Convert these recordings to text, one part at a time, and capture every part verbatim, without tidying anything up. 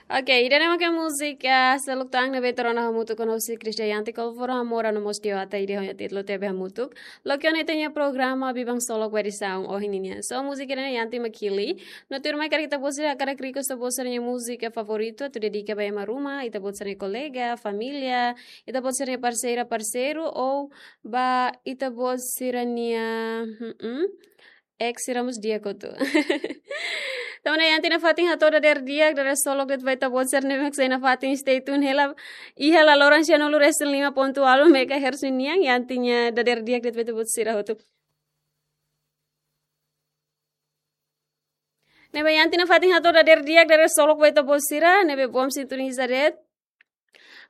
Ok, ida-ne'e maka múzika Seluk Tan ne'ebé ita rona hamutuk ho Christian Yanti, Kolforo Amora no mós Tio Ata, ida ho nia títulu Tebe Hamutuk. Loke ona ita-nia programa Biban Solok ba edisaun ohin ninian. So, múzika ida-ne'e Yanti mak hili. No tuirmai karik ita-boot sira hakarak request ita-boot sira-nia múzika favoritu, atu dedika ba ema ruma, ita-boot sira-nia kolega, família, ita-boot sira-nia parseira, parseiru, ou ba ita-boot sira-nia, hmm, ex sira mós di'ak hotu. Tanba ne'e Yanti nafatin hato'o dadeer di'ak, dadeer solok de'it ba ita-boot sira ne'ebé mak sei nafatin stay tune hela. Iha laloran sianulu resin lima pontu ualu megahertz nian, Yanti nia dadeer di'ak de'it ba ita-boot sira hotu. Ne'ebé Yanti nafatin hato'o dadeer di'ak, dadeer solok ba ita-boot sira ne'ebé bom sintoniza de'it.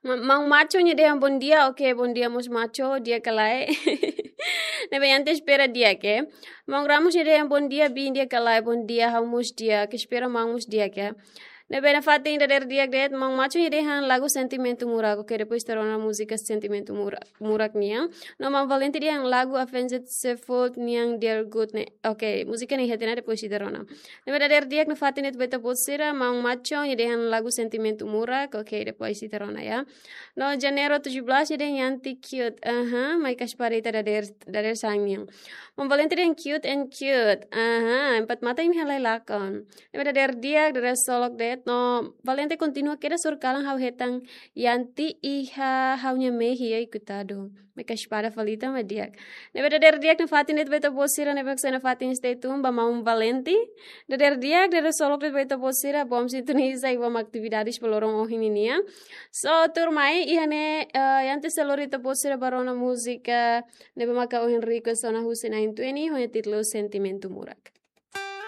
Ma-, Maun Macho nia dehan bom dia, ok, bom dia mós Macho, di'ak ka lae. Ne'ebé Yanti espera di'ak, eh. Maun Ramos nia dehan bom dia, Bi, di'ak ka lae, bom dia, ha'u mós di'ak, espera maun mós di'ak, eh. Ne'ebé nafatin dadeer di'ak de'it, Maun Macho nia dehan lagu Sentimentu Murak, ok, depois ita rona múzika Sentimentu Murak, Murak nian. No Maun Valente dehan lagu Avenged Sevenfold nian Dear Good ne'e. Ok, múzika ne'e iha tiha ona, depois ita rona. Ne'ebé dadeer di'ak nafatin de'it ba ita-boot sira, Maun Macho nia dehan lagu Sentimentu Murak, ok, depois ita rona ya. No Janeiro tujuh belas nia dehan Yanti cute, aha, mai kaspar ita dadeer, dadeer sang nian. Maun Valente dehan cute and cute, aha, empat mata imi halai lakon. Ne'ebé dadeer di'ak, dadeer solok de'it, no Valente kontinua kedas horikalan ha'u hetan Yanti iha ha'u-nia mehi, ai, koitadu. Mai kaspar fali tan mak di'ak. Ne'ebé dadeer di'ak nafatin de'it ba ita-boot sira ne'ebé mak sei nafatin stay tune ba Maun Valente. Dadeer di'ak, dadeer solok de'it ba ita-boot sira, bom sintoniza i bom atividades ba loron ohin ninian. So, tuirmai, iha ne'e, eh, Yanti sei lori ita-boot sira ba rona múzika ne'ebé maka ohin request ona husi na'in-tolu, ho nia títulu Sentimentu Murak.